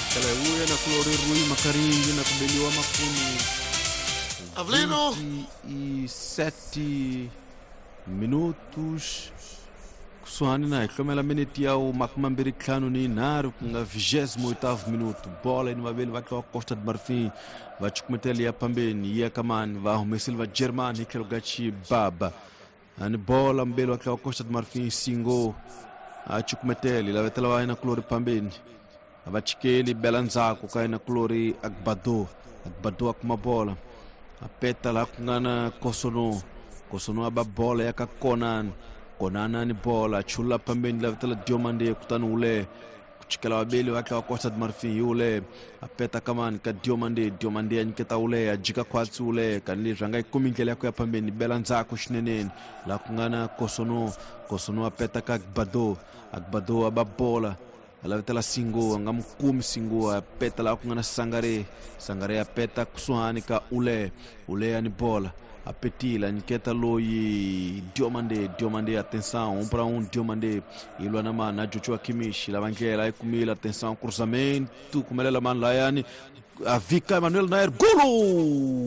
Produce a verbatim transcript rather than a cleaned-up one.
Chikela hi uya na kulori Rui Makaringi na kubeliwa makumi Avelino. vinte e sete minutos kusuhani na hi hlomela miniti ya makume mambirhi ntlhanu ni yinharhu ku nga vigésimo oitavo minuto. Bola ni vaveli va tliwa Costa de Marfim va cukumetela ya phambeni yi ya ka mani va humesile va Germany hi tlhelo ka Chibaba ani bola mbeli wa tliwa Costa de Marfim Singo a cukumetela yi lavetela va yena kulori phambeni a va chikeli bela ndzhaku ka yena kulori Agbado. Agbado a kuma bola a peta laha ku nga na Kosono. Kosono a ba bola ya ka Konan. Konana ni bola chula phambeni lavetela Diomande kutani ule ku chikela vaveli va tliwa Costa de Marfim hi ule a peta kamani ka Diomande. Diomande a nyiketa ule a jika khwatsi ule kani leswi a nga yi kumi ndlela ya ku ya phambeni bela ndzhaku xineneni laha ku nga na Kosono. Kosono a peta ka Agbado. Agbado a ba bola a lavetela Singo a nga mu kumi Singo a peta laha ku nga na Sangare. Sangare a peta kusuhani ka ule. Ule a ni bola a petila nyiketa loyi Diomande. Diomande atenção um para um Diomande ilwa na mani na Joshua Kimmich lava ndlela yi kumile atenção cruzamento kumelela mani layani a vika Emmanuel Nair golo.